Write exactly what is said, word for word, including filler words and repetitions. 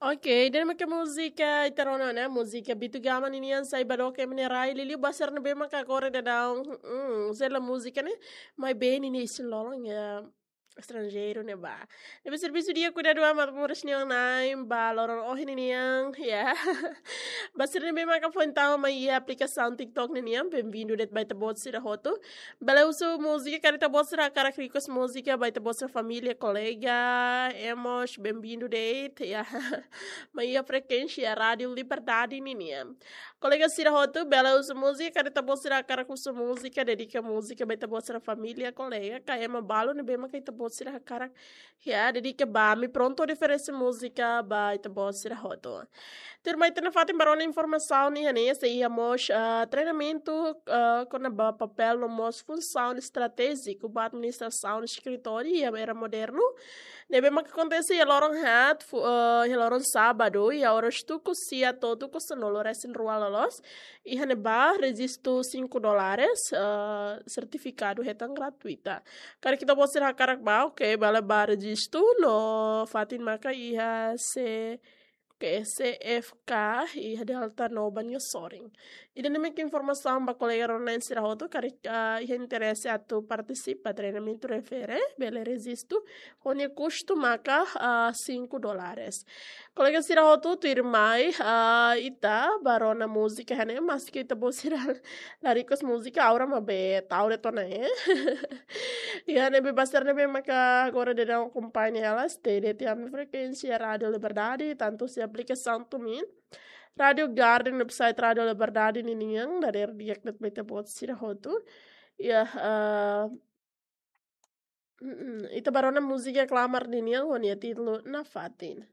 Ok, ida-ne'e maka múzika ita rona ona, múzika Bitu Gama ninian, Sai Ba Dook, ema nia rai, liuliu ba sira ne'ebé maka agora daudaun, hmm, sela múzika ne'e, maibé ninia isin-lolon iha estranjeiru ne'ebá. Ne'ebé servisu di'ak, kuidadu amat moris nia na'in ba loron ohin ninian, ya. Ba sira ne'ebé maka foin tama mai iha aplikasaun TikTok ninian, bem-vindu de'it ba ita-boot sira hotu. Bele husu múzika, karik ita-boot sira hakarak request múzika ba ita-boot sira família, kolega, emos, bem-vindu de'it, ya. Mai iha frekuénsia Rádiu Liberdade ninian. Kolega sira hotu, bele husu múzika, karik ita-boot sira hakarak husu múzika, dedika múzika ba ita-boot sira família, kolega, ka ema balu ne'ebé maka ita-boot sira hakarak, ya, dedika ba ami, prontu oferese múzika ba ita-boot sira hotu. Tuirmai ita nafatin ba rona informasaun iha ne'e, sei iha mós, ah, treinamentu, ah, kona-ba papél no mós funsaun estratéjiku ba administrasaun eskritóriu iha era modernu. Ne'ebé maka akontese iha loron haat, fu-, ah, iha loron sábadu, iha oras tuku sia to'o tuku sanulu resin rua loloos. Iha ne'ebá rejistu cinco dólares, ah, sertifikadu hetan gratuita. Karik ita-boot sira hakarak ba, ok, bele ba rejistu no fatin maka iha se ke C F K iha Delta Noba nia sorin. Ida-ne'e maka informasaun ba kolega rona-na'in sira hotu, karik, ah, iha interese atu partisipa treinamentu refere, bele rejistu, ho nia kustu maka, ah, cinco dólares. Kolega sira hotu, tuirmai, ah, ita ba rona múzika iha ne'e, maski ita-boot sira la request múzika, Aura maibé tau de'it ona, eh. Iha ne'ebé ba sira ne'ebé maka agora daudaun akompaña hela, stay de'it iha ami-nia frekuénsia Rádiu Liberdade, tantu iha aplikasaun TuneIn, Rádiu Garden, website Rádiu Liberdade ninian, dadeer di'ak de'it ba ita-boot sira hotu. Ya, eh, mm, ita ba rona múzika Klamar ninian, ho nia títulu Nafatin.